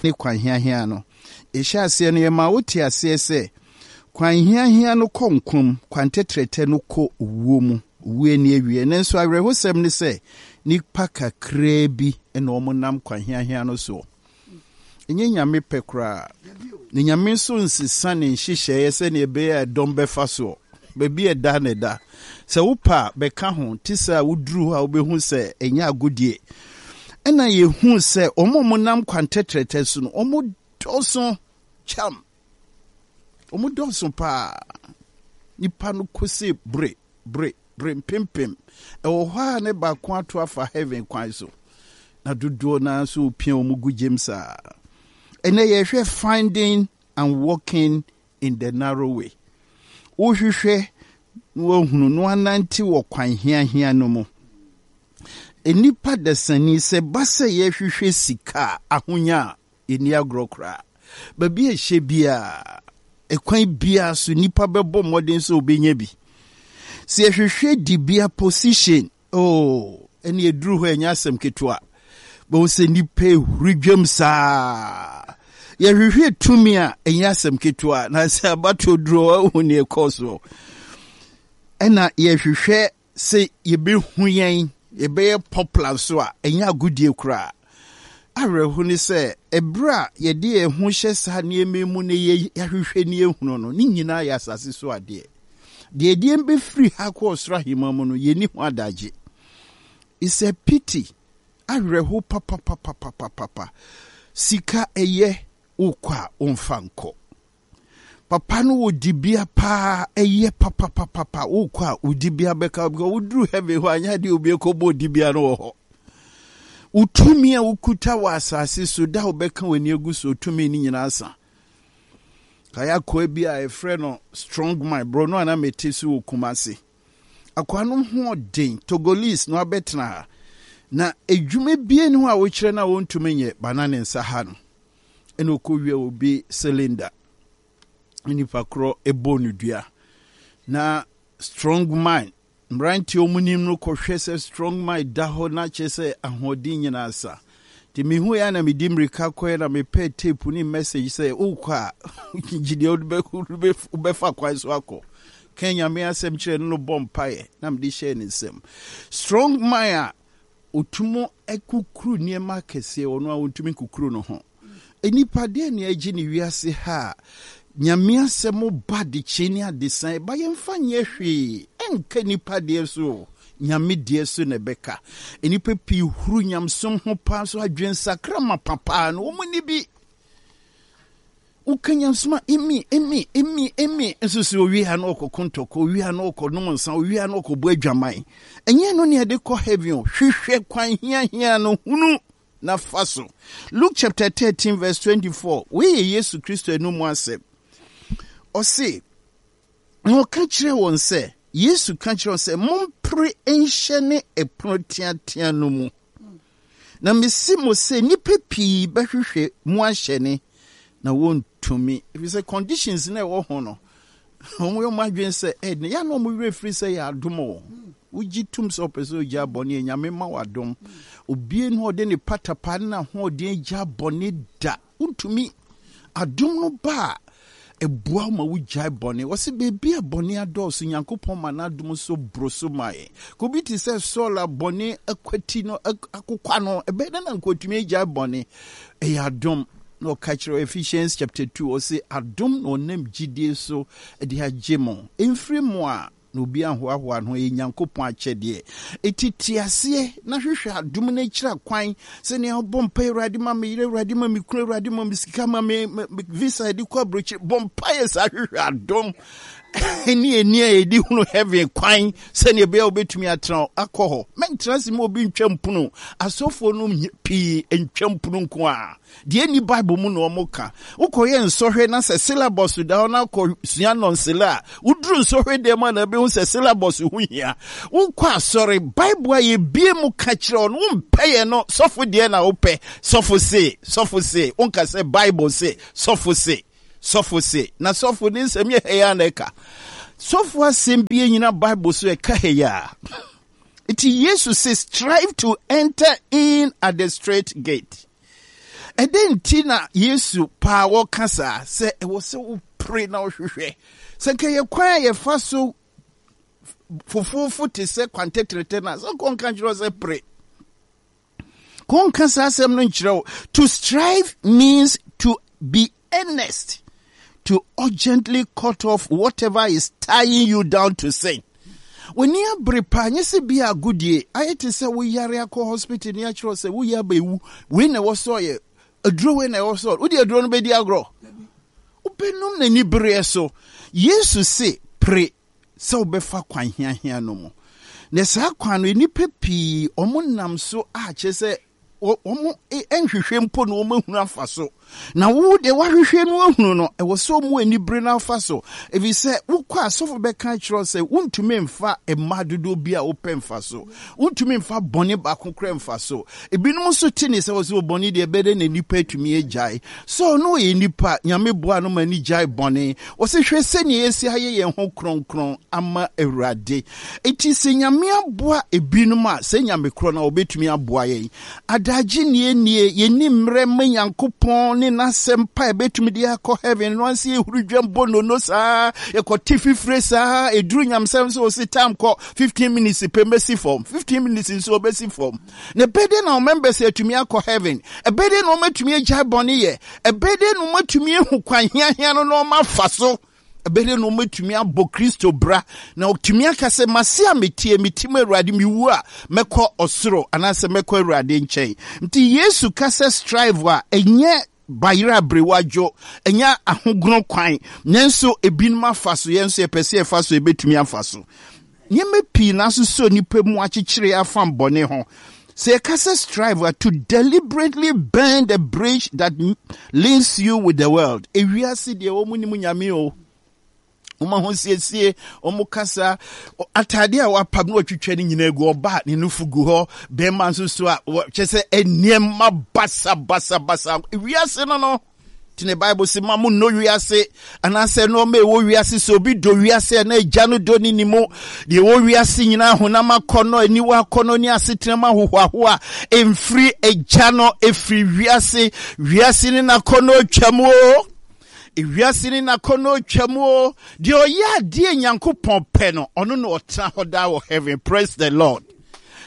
ne kwan hiahia no. Yɛhyɛɛ aseɛ no, yɛmaa wote aseɛ sɛ kwan hiahia no kɔ nkwa mu, kwan tɛtrɛtɛ no kɔ owuo mu, owuo ani awieɛ. Nanso awerɛhosɛm ne sɛ, nnipa kakraa bi na wɔnam kwan hiahia no soɔ. Ɛnyɛ Nyame pɛ koraa. Na Nyame nso nsesa ne nhyehyɛeɛ sɛdeɛ ɛbɛyɛ a ɛdɔm bɛfa soɔ. Baabi a ɛda na ɛda. Sɛ wopɛ a, bɛka ho. Te sɛ a woduru hɔ a wobɛhu sɛ ɛnyɛ agodie. Ɛna yɛhu sɛ wɔn a wɔnam kwan tɛtrɛtɛ so no, wɔdɔɔso kyam. Wɔdɔɔso paa. Nipa no kose bere, bere, bere mpempem. Ɛwɔ hɔ a ne baako ato afa heaven kwan so. Na dodoɔ no ara nso repia wɔn gu gyam saa. Ɛnɛ yɛhwɛ finding and walking in the narrow way. Wohwehwɛ na woahunu na woanante wɔ kwan hiahia no mu. Nnipa dasani, sɛ ɛba sɛ yɛhwehwɛ sika a, ahonya a, yɛnni agorɔ koraa. Baabi a ɛhyɛ biara, ɛkwan biara so, nnipa bɛbɔ mmɔden sɛ wɔbɛnya bi. Sɛ yɛhwehwɛ dibea, position, Oh, ɛne ɛduru hɔ ɛnyɛ asɛm ketewa. Bɛhu sɛ nnipa ehuri dwam saa. Yɛhwehwɛ tumi a ɛnyɛ asɛm ketewa na sɛ abatoɔ duru hɔ ahu ne ɛkɔɔ soɔ. Ɛna yɛhwehwɛ sɛ yɛbɛhu yɛn, yɛbɛyɛ popular nso a ɛnyɛ agodie koraa. Awerɛho ne sɛ ɛberɛ a yɛde yɛn ho hyɛ saa nneɛma yi mu na yɛahwehwɛ ne yɛhunu no, ne nyinaa yɛ asase so adeɛ. Deɛ ɛdeɛ bɛfiri ha kɔ ɔsoro ahemman mu no, yɛnni ho adagye. It's a pity. Awerɛho papapapapapa. Sika ɛyɛ, wokɔ a womfa nkɔ. Papa no wɔ dibea paa, ɛyɛ papapapapa. Wokɔ a wo dibea bɛka because woduru heaven hɔ anyɛ adeɛ obi ɛkɔbɔ dibea no wɔ hɔ. Wo tumi a wokuta wɔ asase so da wobɛka w'ani agu so tumi no nyinaa sa. Kae akoa bi a yɛfrɛ no Strong Man, borɔno a na mete so wɔ Kumasi. Akoa no ho ɔden, Togolese na wabɛtena ha. Na edwuma bie ne ho a wokyerɛ no a wɔntumi nyɛ, ba na ne nsa ha no. Ɛna ɔkɔwia obi cylinder. Nipa korɔ ɛbɔ no dua. Na Strong Man Mmeranteɛ a wɔnim no kɔhwɛ sɛ strong man da hɔ na kyerɛ sɛ ahoɔden nyinaa sa. Nti mehuiɛ a na medi mmirika kɔɛ na mepɛɛ tape ne message sɛ wokɔ a gye deɛ wobɛfa kwan so akɔ. Ka Nyame asɛm kyerɛ no no bɔ mpaeɛ na mede hyɛɛ ne nsam. Strong man a ɔtumi kukuru nneɛma akɛseɛ ɔno a ɔntumi nkukuru no ho. Nnipa deɛ ne agye ne wiase ha a Nyame asɛm ba adekyee ne adesan ɛba yɛmfa nyɛ hwee ɛnka nnipa deɛ so o Nyame deɛ so na ɛbɛka. Nnipa pii huru nyamesom ho paa so adwensakra mapa paa no wɔn nni bi. Woka nyamesom a emi emi emi emi nso sɛ owie a na ɔkɔko ntɔkwa owie a na ɔkɔnom nsa owie a na ɔkɔbɔ adwaman. Ɛnyɛ no ne ɛde kɔ heaven o hwehwɛ kwan hiahia no hunu na fa so. Luke chapter 13 verse 24, wei yɛ Yesu Kristo anum asɛm. Ɔse, na ɔka kyerɛ wɔn sɛ, Yesu ka kyerɛ wɔn sɛ, mompere nhyɛne ɛpono teatea no mu. Na mese mo sɛ nnipa pii bɛhwehwɛ mu ahyɛne na wɔntumi. Ɛfiri sɛ conditions na ɛwɔ ho no, Wɔn yɛ wɔn adwene sɛ ɛyɛ yɛ na wɔn werɛ firi sɛ yɛ adom o. Wogye tum sɛ ɔpɛ sɛ ogya bɔne a Nyame ma wo adom. Obie no ɔde ne patapa ne n'ahoɔden agya bɔne da. Wontumi. Adom no ba a, ɛboa wo ma wogyae bɔne. Wɔse baabi a bɔne adɔɔso, Nyankopɔn ma n'adom so boro so ma yɛn. Ka obi te sɛ Saul a bɔne akwati no, akokwa no, ɛbɛyɛ dɛn na nka otumi agyae bɔne? Ɛyɛ adom. Na ɔka kyerɛ Ephesians chapter 2, ɔse adom na ɔnam gyidie so de agye mo. Ɛmfiri mo a, na obi anhoahoa ne ho, ɛyɛ Nyankopɔn akyɛdeɛ. Enti te aseɛ na hwehwɛ adom no akyira kwan sɛnea wobɔ mpaeɛ, Awurade ma me yere, Awurade ma me kunu, Awurade ma me sika, ma me visa de kɔ aburokyire. Bɔ mpaeɛ saa hwehwɛ adom ne ani a yɛde hunu heaven kwan sɛnea ɛbɛyɛ a wobɛtumi atena akɔ hɔ. Mɛntena ase ma obi ntwa mpono. Asɔfoɔ no pii ntwa mpono nko a. Deɛ ɛnni Bible mu na wɔka. Wokɔyɛ nsɔhwɛ na sɛ syllabus da hɔ na akɔsua nɔnsele a, woduru nsɔhwɛ dan mu a na wobɛhu sɛ syllabus ho hia. Wokɔ asɔre, Bible a yɛbie mu ka kyerɛ wo no, wompɛ yɛ no, sɔfo deɛ na wopɛ. Sɔfo se, sɔfo se, wonka sɛ Bible se, sɔfo se, sɔfo se. Na sɔfo ne nsɛm yɛ hɛyɛ a na ɛka. Sɔfo asɛm bi nyina Bible so ɛka hɛyɛ a. Nti Yesu se, strive to enter in at the straight gate. Ɛdɛn nti na Yesu paa wɔka saa sɛ ɛwɔ sɛ wopere na wohwehwɛ? Sɛ nka yɛ kwan a yɛfa so fofoofo te sɛ kwan tɛtrɛtɛ no a, sɛ kɔnka nkyerɛ sɛ pere. Kɔnka saa asɛm no nkyerɛ wo. To strive means to be earnest, to urgently cut off whatever is tying you down to sin. W'ani abere paa, nyɛ sɛ bi agodie, ayɛ te sɛ woyare akɔ hospital ne akyerɛ sɛ woyɛ abɛwu, wei na ɛwɔ sɛ ɔyɛ, aduro wei na ɛwɔ sɛ ɔyɛ, wode aduro no bɛdi agorɔ. Wobɛnum n'ani bereɛ so. Yesu se, pere sɛ wobɛfa kwan hiahia no mu. Na saa kwan no, nnipa pii wɔn nam so a kyerɛ sɛ wɔn nhwehwɛ mpo na wɔn ahunu afa so. Na wo deɛ wahwehwɛ no ahunu no, ɛwɔ sɛ wɔn ani bere no afa so. Ɛfiri sɛ wokɔ asɔfo bɛka kyerɛ sɛ wontumi mfa mma dodoɔ bi a wopɛ mfa so. Wontumi mfa bɔne baako koraa mfa so. Ebinom nso te ne sɛ wɔsɛ bɔne deɛ ɛbɛyɛ dɛ na nipa atumi agyae. Sɛ ɔno ɔyɛ nipa, Nyame boa no ma ne gyae bɔne. Wɔsɛ hwɛ sɛnea yɛsi ayɛ yɛn ho kronkron ama Awurade. Enti sɛ Nyame aboa ebinom a, sɛ Nyame korɔ no a ɔbɛtumi aboa yɛn. Adagye nie nie, yɛnni mmerɛ ma Nyankopɔn ne n'asɛm pa a ɛbɛtumi de akɔ heaven no ansa yɛhuru dwam bɔ nono saa, yɛkɔte fifire saa, ɛduru nyamesɛm so ɔse time kɔ, 15 minutes pɛ mɛsi fam, 15 minutes nso ɔbɛsi fam. Na ɛbɛyɛ dɛn na wɔn members atumi akɔ heaven? Ɛbɛyɛ dɛn na wɔatumi agyae bɔne yɛ? Ɛbɛyɛ dɛn na wɔatumi ahu kwan hiahia no na wɔafa so? Ɛbɛyɛ dɛn na wɔatumi abɔ Kristo bra na wɔatumi aka sɛ, Mase a metie, mete mu Awurade, mewu a, mɛkɔ ɔsoro anaasɛ mɛkɔ Awurade nkyɛn. Nti Yesu ka sɛ strive a, ɛnyɛ bayerɛ aberewa dwo, ɛnyɛ ahogono kwan, nanso ebinom afa so, yɛn nso yɛpɛ sɛ yɛfa so, yɛbɛtumi afa so. Nneɛma pii na asosɔ nnipa mu akyekyere afam bɔne ho. Sɛ yɛka sɛ strive a, to deliberately burn the bridge that links you with the world. Ewiase deɛ wɔn nim nyame o. Wɔn ahosiesie, wɔn kasa, ataade a wapam na watwitwa ne nyinaa gu, ɔbaa ne nufu gu hɔ, bɛrima nso so a kyɛ sɛ nneɛma basabasabasa. Ewiase no no. Nti ne Bible se ma mo nnɔ wiase anaasɛ nneɛma ɛwɔ wiase sɛ obi dɔ wiase a na agya no dɔ ne ne mu deɛ ɛwɔ wiase nyinaa honam akɔnnɔ aniwa akɔnnɔ ne asetena mu ahohoahoa ɛmfiri agya no ɛfiri wiase wiase ne n'akɔnnɔ twam o wiase ne n'akɔnnɔ twam o deɛ ɔyɛ adeɛ Nyankopɔn pɛ no ɔno na ɔtena hɔ daa wɔ heaven. Praise the Lord.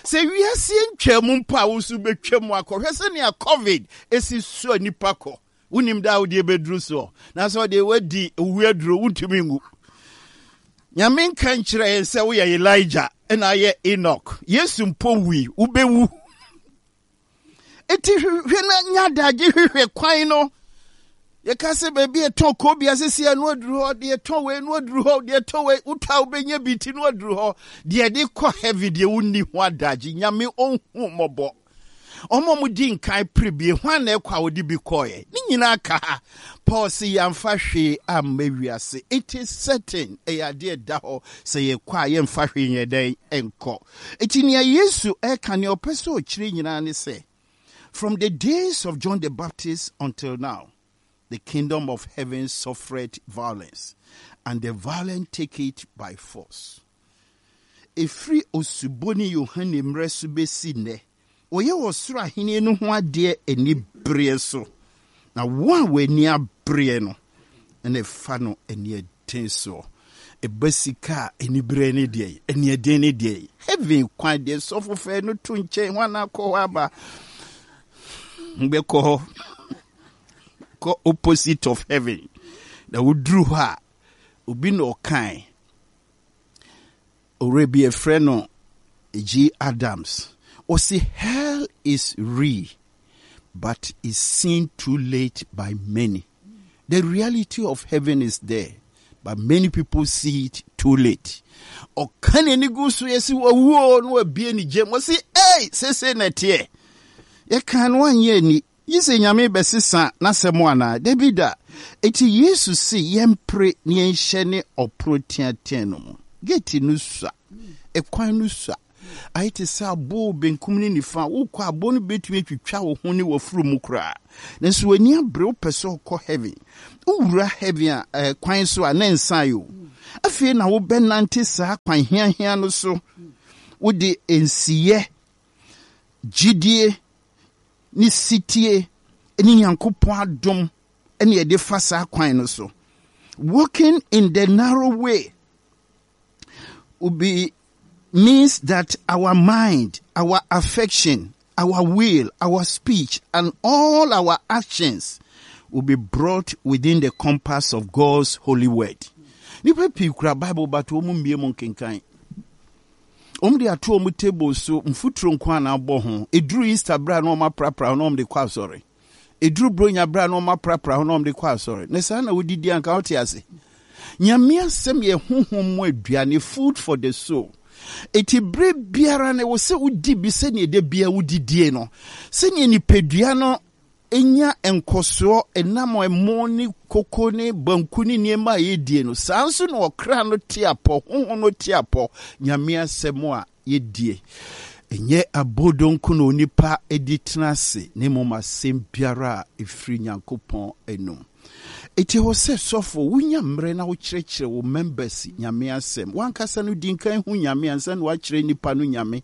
Sɛ wiase ntwa mu mpo a wo nso bɛtwa mu akɔhwɛ sɛnea COVID esi soɔ nipa kɔ. Wonim da a wodeɛ bɛduru soɔ. Nanso ɔdeɛ wadi owu aduro wontumi nwu. Nyame nka nkyerɛ yɛn sɛ woyɛ Elijah ɛna ayɛ Enoch. Yesu mpo wui, wobɛwu. Eti hwehwɛ na nya adagye hwehwɛ kwan no. Yɛka sɛ baabi ɛtɔn koobi asese a no aduru hɔ, deɛ ɛtɔn wei no aduru hɔ, deɛ ɛtɔn wei wotɔ a wobɛnya bi ti no aduru hɔ. Deɛ ɛde kɔ heaven deɛ wonni ho adagye. Nyame ɔnhu mmɔbɔ. Wɔn a wɔdi nkan pere bi, hwan na ɛkɔ a wɔde bi kɔeɛ? Ne nyinaa ka ha. Paul se yɛamfa hwee amma wiase. It is certain, ɛyɛ adeɛ ɛda hɔ, sɛ yɛkɔ a yɛmfa hwee nyɛ dɛn nkɔ. Enti nea Yesu ɛreka, nea ɔpɛ sɛ ɔkyerɛ nyinaa ne sɛ, from the days of John the Baptist until now, the kingdom of heaven suffered violence, and the violent take it by force. Ɛfiri Osuboni Yohane mmerɛ so bɛsi nnɛ, wɔyɛ ɔsoro ahennie no ho adeɛ anibereɛ so, na wɔn a wɔn ani abereɛ no na ɛfa no aniɛden soɔ. Ɛba sika a, anibereɛ ne deɛ, aniɛden ne deɛ. Heaven kwan deɛ, sɔfo fɛ no to nkyɛn, hwan na akɔ hɔ aba? Bɛkɔ hɔ, kɔ opposite of heaven. Na woduru hɔ a, obi na ɔkae. Owura bi yɛfrɛ no G. Adams, ɔse hell is real but is seen too late by many. The reality of heaven is there but many people see it too late. Ɔka n'ani gu so yɛsi wawuo na wabie ne gyam ɔse ei sese na ɛteɛ. Yɛka no anyɛ ani. Gye sɛ Nyame bɛsesa n'asɛm anaa? Dabi da! Enti Yesu se yɛmpere na yɛnhyɛne ɔpono teatea no mu. Gate no sua. Ɛkwan no sua. Ayɛ te sɛ abo benkum ne nifa. Wokɔ a, abo no betumi atwitwa wo ho ne w'afuru mu koraa. Nanso w'ani abere, wopɛ sɛ wokɔ heaven. Wowura heaven a, eh, kwan so a, na ɛnsae o. Afei na wobɛnante saa kwan hiahia no so. Wode nsiyɛ, gyidie, ne setie ne Nyankopɔn adom ne yɛde fa saa kwan no so. Walking in the narrow way will be means that our mind, our affection, our will, our speech, and all our actions will be brought within the compass of God's holy word. Nipa pii kura Bible but wɔn mmie mu nkenkan. Wɔn de ato wɔn table so mfuturo nko a na abɔ ho. Eduru Easter bere a na wɔn aprapra ho na wɔn de kɔ asɔre. Eduru Buronya bere a na wɔn aprapra ho na wɔn de kɔ asɔre. Na saa na wodidi anka wote ase. Nyame asɛm yɛ honhom mu aduane, food for the soul. Eti bere biara no ɛwɔ sɛ wodi bi sɛnea da biara wodidie no. Sɛnea nipadua no nya nkɔsoɔ ɛnam ɛmo ne koko ne banku ne nneɛma a yɛdie no, saa nso na ɔkra no te apɔ, honhom no te apɔ, Nyame asɛm a yɛdie. Ɛnyɛ abodoo nko na onipa di tena ase, na mmom asɛm biara a ɛfiri Nyankopɔn anom. Enti ɛwɔ sɛ sɔfo wonya mmerɛ na wokyerɛkyerɛ wo members Nyame asɛm. W'ankasa no di nkan hu Nyame ansa na woakyerɛ nnipa no Nyame.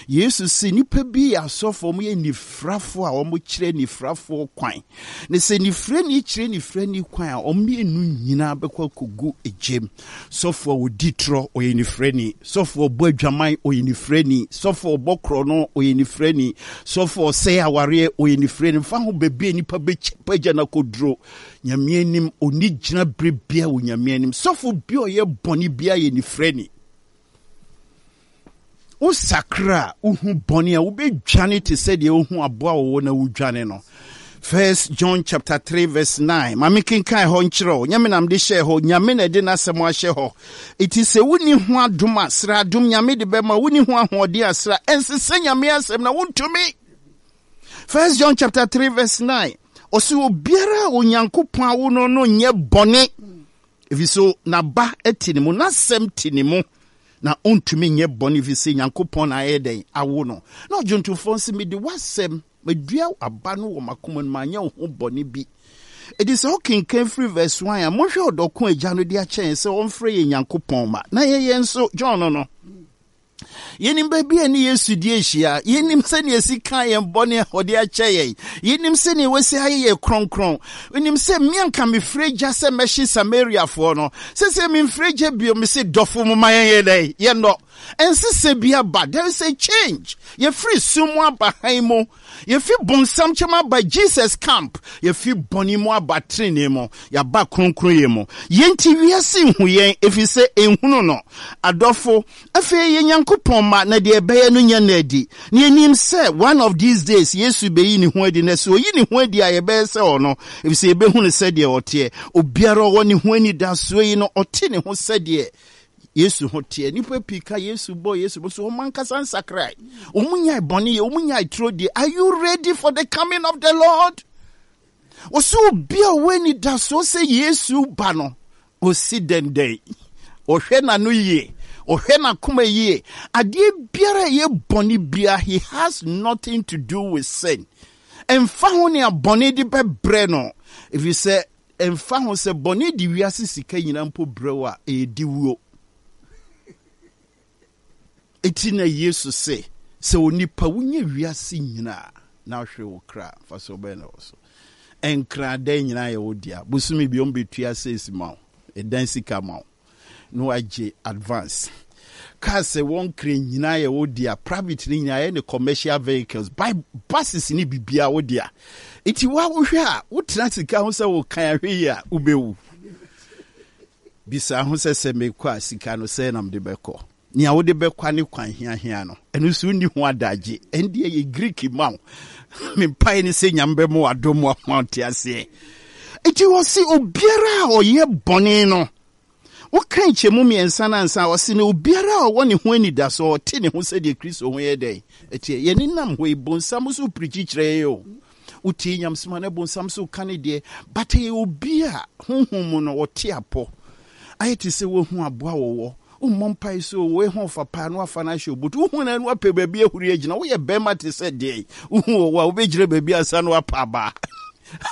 Yesu se nnipa bi yɛ asɔfo, wɔyɛ nifrafoɔ a wɔkyerɛ nifrafoɔ kwan. Na sɛ nifrani kyerɛ nifrani kwan a, wɔn mmienu nyinaa bɛkɔ akɔgu egyem. Sɔfo a ɔdi torɔ, ɔyɛ nifrani. Sɔfo a ɔbɔ adwaman, ɔyɛ nifrani. Sɔfo a ɔbɔ korɔno, ɔyɛ nifrani. Sɔfo a ɔsɛe awareɛ, ɔyɛ nifrani. Mfa ho baabi a nipa bɛpagya no akɔduro, Nyame anim, ɔnni gyina berɛ biara wɔ Nyame anim. Sɔfo bi a ɔyɛ bɔne biara yɛ nifrani. Wosakra a, wohu bɔne a, wobɛdwane te sɛ deɛ wohu aboa wɔwɔ na wodwane no. First John chapter 3 verse 9. Ma me kenkan hɔ nkyerɛ wo. Nyame na mede hyɛɛ hɔ. Nyame na ɛde n'asɛm ahyɛ hɔ. Eti sɛ wonni ho adom a, srɛ adom. Nyame de bɛma. Wonni ho ahoɔden a, srɛ. Ɛnsesɛ Nyame asɛm na wontumi. First John chapter 3 verse 9. Ɔse obiara a Onyankopɔn awo no no nyɛ bɔne. Ɛfiri so n'aba te ne mu, n'asɛm te ne mu, na ɔntumi nyɛ bɔne ɛfiri sɛ Nyankopɔn na ayɛ dɛn awo no. Na ɔdwontofoɔ nso, mede w'asɛm, madua aba no wɔ m'akoma no mu, manyɛ wo ho bɔne bi. Enti sɛ wokenkan firi verse 1 a, monhwɛ ɔdɔ ko Agya no de akyɛ yɛn sɛ ɔmfrɛ yɛn Nyankopɔn mma, na yɛyɛ nso, John no no. Yɛnim baabi a ne Yesu di ahyia. Yɛnim sɛnea esi ka yɛn bɔne a ɔde akyɛ yɛn. Yɛnim sɛnea wasi ayɛ yɛn kronkron. Yɛnim sɛ me anka mefiri gya sɛ mɛhye Samariafoɔ no. Sɛsɛ memfiri gya bio, mese dɔfo mo ma yɛnyɛ dɛn? Yɛnnɔ. Ɛnsesɛ bi aba. There is a change. Yɛfiri sum mu aba hann mu. Yɛfi bonsam kyɛm aba Jesus camp. Yɛfi bɔne mu aba trenee mu. Yɛaba kronkronyɛ mu. Yɛn nti wiase nhu yɛn, efisɛ enhunu no. Adɔfo, afei yɛyɛ Nyankopɔn mma, na deɛ ɛbɛyɛ no nyɛ no adi. Na yɛnim sɛ one of these days Yesu bɛyi ne ho adi, na sɛ ɔyi ne ho adi a yɛbɛyɛ sɛ ɔno, efisɛ yɛbɛhu no sɛdeɛ ɔteɛ. Obiara ɔwɔ ne ho anidasoɔ yi no, ɔte ne ho sɛdeɛ Yesu ho teɛ. Nnipa pii ka Yesu bɔ Yesu bɔ so wɔn ankasa nsakrae. Wɔn nyae bɔne yɛ, wɔn nyae turo die. Are you ready for the coming of the Lord? Wɔsɛ obi a ɔwɔ anidasoɔ sɛ Yesu ba no, ɔsi dɛndɛn. Ɔhwɛ n'ano yie, ɔhwɛ n'akoma yie. Adeɛ biara a ɛyɛ bɔne biara, he has nothing to do with sin. Ɛmfa ho nea bɔne de bɛbrɛ no, ɛfiri sɛ Ɛmfa ho sɛ bɔne de wiase sika nyinaa mpo brɛ wo a, ɛyɛ diwuo. Enti na Yesu se, sɛ onipa wonya wiase nyinaa na wohwere wo kra a, mfasoɔ bɛn na ɛwɔ so? Nkra adan nyinaa yɛ wo dea. Bosome bi wɔbɛtua sales ma wo, ɛdan sika ma wo. na wagye advance. Cars a ɛwɔ Nkran nyinaa yɛ wo dea, private no nyinaa yɛ ne commercial vehicles, by buses ne biribiara wo dea. Nti wa wohwɛ a wotena sika ho sɛ wokan ahwɛ yi a wobɛwu. Bisa ho sɛ sɛ mekɔ a sika no sɛ na mede bɛkɔ. Nea wode bɛkwa ne kwan hiahia no, ɛno nso wonni ho adagye. Ɛndeɛ yɛ Greek ma wo. Me mpae ne sɛ Nyame bɛma wadom wo ama wote aseɛ. Nti wɔse obiara a ɔyɛ bɔne no, woka nkyɛmu mmiɛnsa no ansa a, ɔse na obiara a ɔwɔ ne ho anidasoɔ, ɔte ne ho sɛdeɛ Kristo ho yɛ dɛn? Ɛteɛ. Yɛne nam hɔ yi, bonsam nso pirikyi kyerɛ yɛn o. Wotie nyamesɛm a na bonsam nso ka ne deɛ, but ɛyɛ obi a honhom mu no ɔte apɔ. Ayɛ te sɛ woahu aboa wɔwɔ. Wommɔ mpae sɛ o, wei ho ɔfa paa na wafa no ahyɛ wo boto. Wohu no a na wapɛ baabi ahuri agyina. Woyɛ bɛrima te sɛ deɛn? Wohu ɔwɔ a, wobɛgyina baabi ansa na wapa abaa.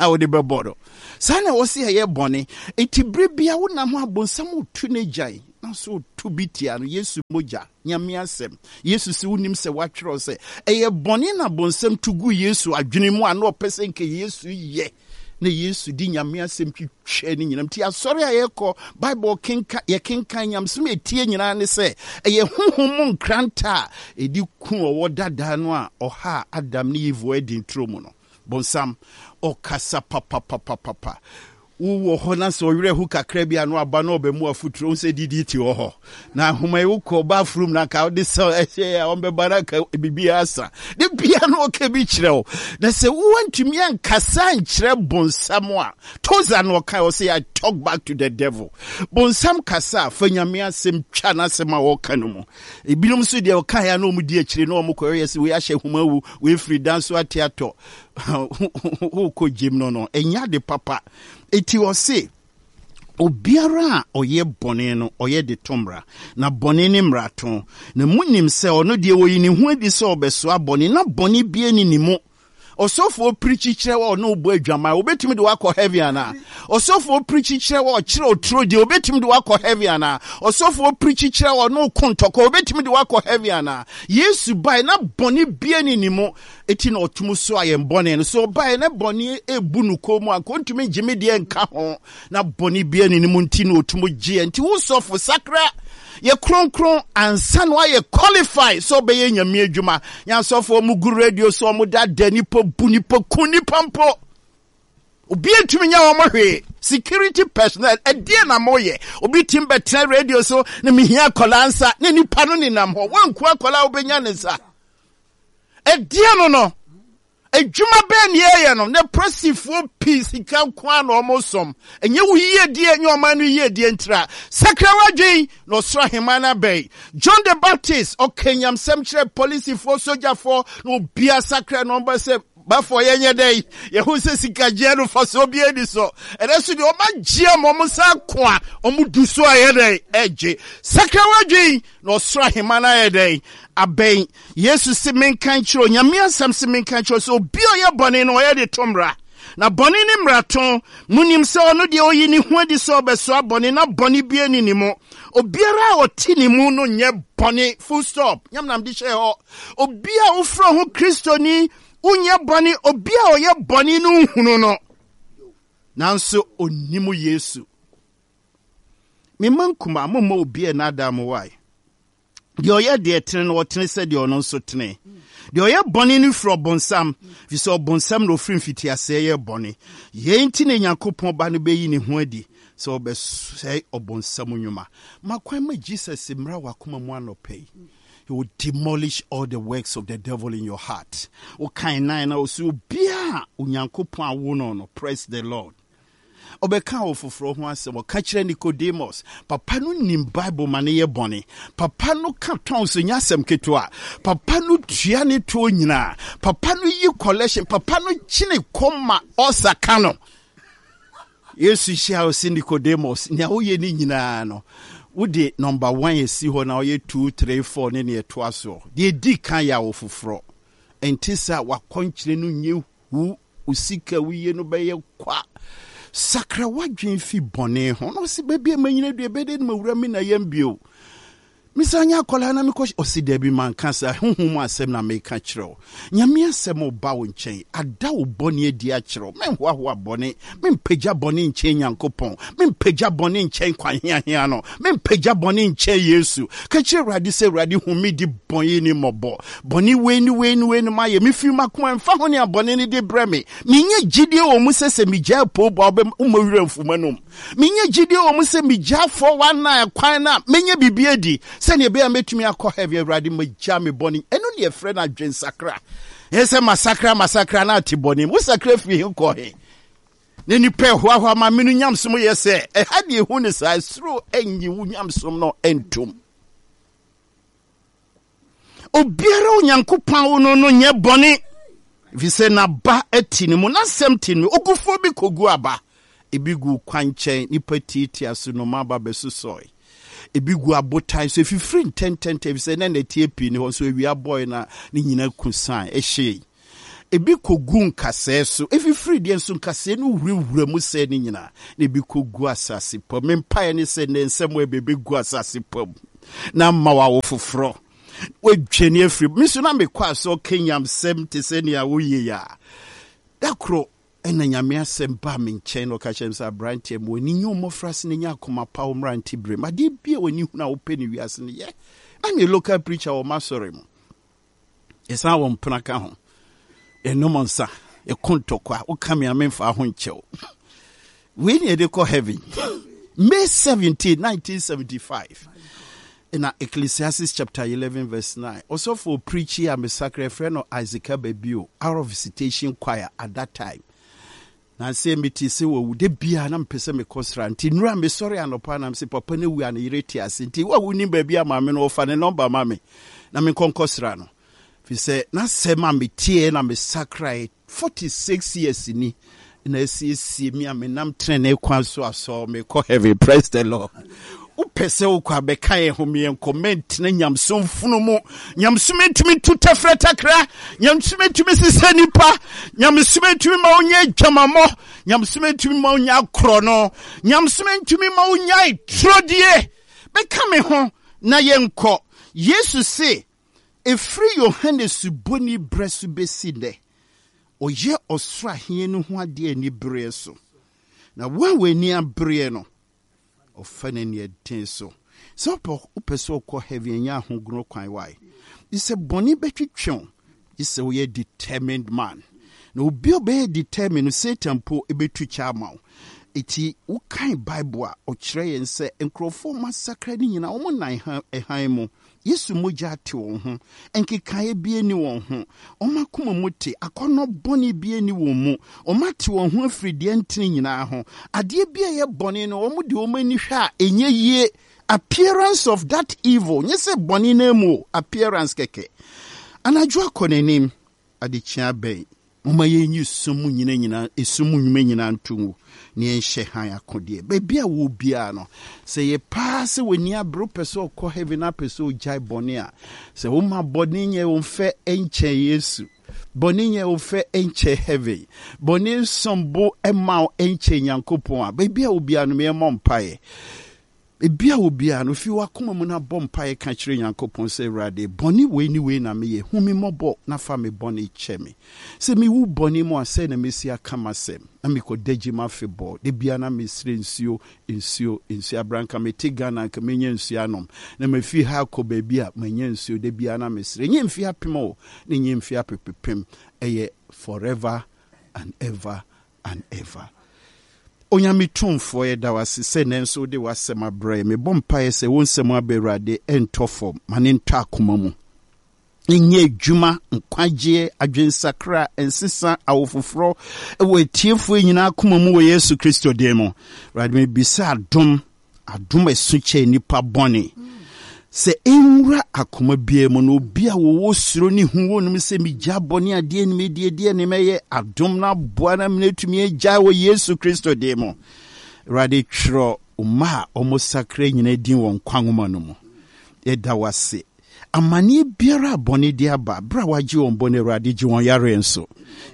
a wode bɛbɔ no. Saa na ɛwɔ sɛ yɛyɛ bɔne. Enti berɛ bia wonam hɔ a bonsam retu n'agyan na so retu bi tia no. Yesu mogya, Nyame asɛm. Yesu se wonim sɛ wɔatwerɛ sɛ ɛyɛ bɔne na bonsam tu gu Yesu adwene mu a na ɔpɛ sɛ nka Yesu yɛ na Yesu de Nyame asɛm twitwa ne nyinam. Nti asɔre a yɛkɔ, Bible kenka, yɛkenkan nyamesom a ɛtie nyinaa ne sɛ ɛyɛ honhom mu nkranta a ɛdi ku ɔwɔ dadaa no a ɔhaa Adam ne Eve wɔ Eden turo mu no. Bonsam, ɔkasa papapapapa. Wowɔ hɔ na sɛ ɔwerɛ ho kakra bi a na waba na ɔbɛmu afoturo wo sɛ didi te wɔ hɔ na ahoma yi wokɔ bathroom na nka wode sɛ ɛhyɛ a ɔmbɛba na nka biribi asa de bia na ɔka bi kyerɛ wo na sɛ woantumi ankasa nkyerɛ bonsam a toza na ɔka ɔsɛ I talk back to the devil. Bonsam kasa a fa Nyame asɛm twa n'asɛm a ɔka no mu. Ebinom nso deɛ ɔka ya na wɔn di akyire na wɔn kɔ yɛ sɛ wei ahyɛ homa wu wei firi dan so ate atɔ wokɔ gyem no no ɛnyɛ ade papa. Eti ɔse obiara a ɔyɛ bɔne no ɔyɛ de to mmara, na bɔne ne mmarato. Na munim sɛ ɔno deɛ oyi ne ho adi sɛ ɔbɛsoa bɔne, na bɔne biara nni ne mu. Ɔsɔfoɔ pirikyi kyerɛ wa ɔne wobɔ adwaman, obetumi de wakɔ heaven anaa? Ɔsɔfoɔ pirikyi kyerɛ wa ɔkyerɛ oturo deɛ, obetumi de wakɔ heaven anaa? Ɔsɔfoɔ pirikyi kyerɛ wa ɔne oko ntɔkwa, obetumi de wakɔ heaven anaa? Yesu bae na bɔne biara nni ne mu, eti na ɔtum soa yɛn bɔne no. So ɔbae na bɔne ebu no kɔn mu a, nka ontumi ngye me deɛ nka ho. Na bɔne biara nni ne mu nti na ɔtum gye yɛn. Nti wo sɔfo, sakra, yɛ kronkron ansa na woayɛ qualify sɛ ɔbɛyɛ Nyame adwuma. Nyɛ asɔfo ɔmo gu radio so, ɔmo dada nipa, bu nipa, ku nipa mpo. Obi ntumi nyɛ wɔn hwee. Security personnel, ɛdeɛ na moyɛ? Obi tim bɛtena radio so na mehia akwadaa nsa na nipa no nenam hɔ. Wanku akwadaa a wobɛnya ne nsa. Ɛdeɛ no no. Adwuma bɛn na yɛyɛ no na presifoɔ pii sika nko ara na wɔsom? Ɛnyɛ wo yiedie, ɛnyɛ ɔman no yiedie ntira. Sakra w'adwen na ɔsoro ahemman no abɛn. John the Baptist, ɔka nyamsɛm kyerɛ polisifoɔ, sogyafoɔ, na obiara sakra na ɔba sɛ bafoɔ yɛnyɛ dɛn? Yɛhu sɛ sikagyeɛ no fasoɔ biara ni so. Ɛnɛ so deɛ ɔma gye ama ɔmo nsa ako a ɔmo du so a ɛyɛ dɛn? Ɛgye. Sakra w'adwen na ɔsoro ahemman no ayɛ dɛn? Abɛn. Yesu se menka nkyerɛ wo, Nyame asɛm se menka nkyerɛ wo sɛ obi a ɔyɛ bɔne no ɔyɛ de to mmara. Na bɔne ne mmarato. Monim sɛ ɔno deɛ ɔyi ne ho adi sɛ ɔbɛsoa bɔne na bɔne biara nni ne mu. Obiara a ɔte ne mu no nyɛ bɔne. Full stop. Nyame nam de hyɛɛ hɔ. Obi a wofrɛ ho Kristoni wonyɛ bɔne, obi a ɔyɛ bɔne no nhunu no. Nanso onnim Yesu. Me mma nkumaa, momma obi nnaadaa mo wae. Deɛ ɔyɛ deɛ ɛtene no, ɔtene sɛ deɛ ɔno nso tene. Deɛ ɔyɛ bɔne no firi ɔbonsam, ɛfiri sɛ ɔbonsam na ɔfiri mfitiaseɛ yɛ bɔne. Yei nti na Nyankopɔn Ba no bɛyi ne ho adi sɛ ɔbɛsɛe ɔbonsam nnwuma. Ma kwan ma Jesus mmra w'akoma mu anɔpa yi. He will demolish all the works of the devil in your heart. Wokan nan na ɔsɛ obiara a Onyankopɔn awo no no, praise the Lord. Ɔbɛka ɔfoforɔ ho asɛm. Ɔka kyerɛ Nicodemus. Papa no nim Bible ma no yɛ bɔne. Papa no ka tɔn so nyɛ asɛm ketewa. Papa no tua ne toɔ nyinaa. Papa no yi collection. Papa no kyene kɔm ma ɔsa ka no. Yesu hyia ɔse Nicodemus, nea woyɛ ne nyinaa no, wode number one asi hɔ na ɔyɛ two, three, four ne nea ɛtoa soɔ. Deɛ ɛdi kan yɛ awofoforɔ. Ɛnte saa wakɔnkyerɛ no nyɛ Wo wo sika a woyie no bɛyɛ kwa. Sakra w'adwene fi bɔne ho. Na ɔse baabi a manyina dua ɛbɛyɛ dɛ na mawura me na yam bio. Mesan nyɛ akwadaa na mekɔ ɔse daabi manka saa honhom mu asɛm na meka kyerɛ wo. Nyame asɛm reba wo nkyɛn ada wo bɔne adi akyerɛ wo. Menhoahoa bɔne, mempagya bɔne nkyɛn Nyankopɔn, mempagya bɔne nkyɛn kwan heahea no, mempagya bɔne nkyɛn Yesu. Ka kyerɛ Awurade sɛ Awurade hu me di bɔne ni mmɔbɔ. Bɔne wei ne wei ne wei ne mayɛ, mefiri m'akoma ɛmfa ho nea bɔne no de brɛ me. Menya gyidie wɔ mu sɛ sɛ megyaa poobɔ a wobɛma werɛ mfu m'anom. Menya gyidie wɔ mu sɛ megyaa 419 kwan no a mɛnya biribi adi sɛnea ɛbɛyɛ a mɛtumi akɔ heaven. Awurade magyaa me bɔne. Ɛno ne yɛfrɛ no adwensakra. Ɛnyɛ sɛ masakra masakra na ate bɔne mu. Wosakra firi he kɔ he? Na nipa ɛhoahoa ma me no nyamesom yɛ sɛ ɛha deɛ ɛhu ne saa, soro ɛnyi wo nyamesom no ntom. Obiara a Onyankopɔn awo no no nyɛ bɔne, efisɛ n'aba te ne mu, n'asɛm te ne mu. Ogufoɔ bi kɔgu aba, ebi gu kwankyɛn, nnipa tiatia so, nnomaa ba bɛsosɔe. Ebi gu abotan so, efifiri ntɛntɛntɛm, efisɛ na nnɛteɛ pii nni hɔ, nso awia bɔe na ne nyina ku san, ɛhyee. Ebi kɔgu nkasɛɛ so, ɛfifiri deɛ nso nkasɛɛ no wurawura mu sɛe ne nyinaa, na ebi kɔgu asase pa mu. Me mpaeɛ ne sɛ nnɛ nsɛm a ɛbɛbɛgu asase pa mu na ama wawo foforɔ. Wadwane afiri me so na mekɔ asɔ kanyamsɛm te sɛ nea woyɛ yi a. Da koro ɛna Nyame asɛm baa me nkyɛn na ɔka kyerɛ me sɛ aberanteɛ ma w'ani nye wo mmɔfraase na nya akoma pa wo mmerante berɛ mu. Adeɛ bi a w'ani hunu a wopɛ no wiase no yɛ. Na meyɛ local preacher wɔ m'asɔre mu. Yɛsan wɔ mpena ka ho. Yɛnom nsa, yɛko ntɔkwa, woka me a memfa ho nkyɛw. Wei ne yɛde kɔ heaven. May 17, 1975. Na Ecclesiastes chapter 11 verse 9. Ɔsɔfo preachi a mesakra yɛfrɛ no Isaac Ababio, out of visitation choir at that time. Na sɛ mete sɛ wawu da biara na mepɛ sɛ mekɔ sra nti nnura mesɔre anɔpa na mese papa no awu a ne yere te ase nti wo a wonim baabi a maame no wɔfa ne nɔmba ma me na menkɔ nkɔsra no fi sɛ n'asɛm a meteɛ na mesakrae 46 years ni na asiesie me a menam tenenee kwan so asɔ mekɔ heaven. Praise the Lord. Wopɛ sɛ wokɔ abɛka yɛn ho meɛnkɔ mɛntena nyamesom funu mu. Nyamesom ntumi ntu tɛfrɛ takra. Nyamesom ntumi sesɛ nipa. Nyamesom ntumi ma wonyɛ adwamammɔ. Nyamesom ntumi ma wonya akorɔ no. Nyamesom ntumi ma wonya turodie. Bɛka me ho na yɛnkɔ. Yesu se ɛfiri Yohane Suboni berɛ so bɛsi nnɛ, ɔyɛ ɔsoro ahenni no ho adeɛ anibereɛ so. Na wo a w'ani abereɛ no, ɔfa no aniɛden so. Sɛ wopɛ sɛ wokɔ heaven, ɛnyɛ ahogono kwan wae. Gye sɛ bɔne bɛtwetwe wo, gye sɛ woyɛ determined man. Na obi a ɔbɛyɛ determined no, Satan mpo bɛtu kyɛ ama wo. Eti wokan Bible a, ɔkyerɛ yɛn sɛ nkurɔfoɔ a wɔasakra no nyinaa, wɔn nan hann mu. Yesu mogya ate wɔn ho, nkekaeɛ biara nni wɔn ho, wɔn akoma mu te, akɔnnɔ bɔne biara nni wɔn mu, wɔate wɔn ho afiri deɛ ɛntene nyinaa ho. Adeɛ bi a ɛyɛ bɔne no, wɔde wɔn ani hwɛ a, ɛnyɛ yie. Appearance of that evil, nyɛ sɛ bɔne no mu o, appearance kɛkɛ. Anadwo akɔ n'anim, adekyea abɛn. Momma yɛnyi sum mu nyina nyina, esum mu nnwuma nyinaa nto ngu, na yɛnhyɛ hann akodeɛ. Baabi a wɔ biara no, sɛ yɛ paa sɛ w'ani abere, wopɛ sɛ ɔkɔ heaven na apɛ sɛ ogyae bɔne a, sɛ woma bɔne nyɛ wo mfɛ nkyɛn Yesu, bɔne nyɛ wo fɛ nkyɛn heaven, bɔne nsom bo mma wo nkyɛn Nyankopɔn a, baabi a wɔ biara no, yɛmmɔ mpaeɛ. Baabi a wɔ biara no, fi w'akoma mu na bɔ mpaeɛ ka kyerɛ Nyankopɔn sɛ, Awurade, bɔne wei ne wei na meyɛ, hu me mmɔbɔ na fa me bɔne kyɛ me. Sɛ mewu bɔne mu a, sɛn na mɛsi aka m'asɛm? Na mekɔda gyem afebɔɔ. Da biara na mesrɛ nsuo, nsuo, nsuo. Aberɛ a anka mete Ghana anka mɛnya nsuo anom. Na mafiri ha akɔ baabi a manya nsuo. Da biara na mesrɛ. Ɛnyɛ mfeɛ apem o, na ɛnyɛ mfeɛ apepepem. Ɛyɛ forever and ever and ever. Onyame Tumfoɔ, yɛda wo ase sɛ nnɛ nso wode w'asɛm abrɛ yɛn. Mebɔ mpaeɛ sɛ wo nsɛm aba Awurade ɛntɔ fam, ma ne ntɔ akoma mu. Nyɛ adwuma, nkwagyeɛ, adwensakra, nsesa, awofoforɔ wɔ atiefoɔ nyinaa akoma mu wɔ Yesu Kristo din mu. Awurade mebisa adom Adom a ɛso kyɛn nnipa bɔne. Sɛ ɛnwura akoma biara mu na obi a wɔwɔ suro ne hu wɔ no mu sɛ megya bɔne adeɛ ne medie deɛ ne mɛyɛ adom no aboa na mene atumi agyae wɔ Yesu Kristo din mu. Awurade twerɛ mma a wɔsakra nyina din wɔ nkwa nwoma no mu. Yɛda wo ase. Amanneɛ biara a bɔne de aba, berɛ a woagye wɔn bɔne, Awurade, gye wɔn yareɛ nso.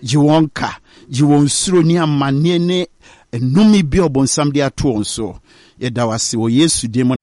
Gye wɔn ka, gye wɔn suro ne amanneɛ ne nnome bi a ɔbonsam de ato wɔn so. Yɛda wo ase wɔ Yesu din mu.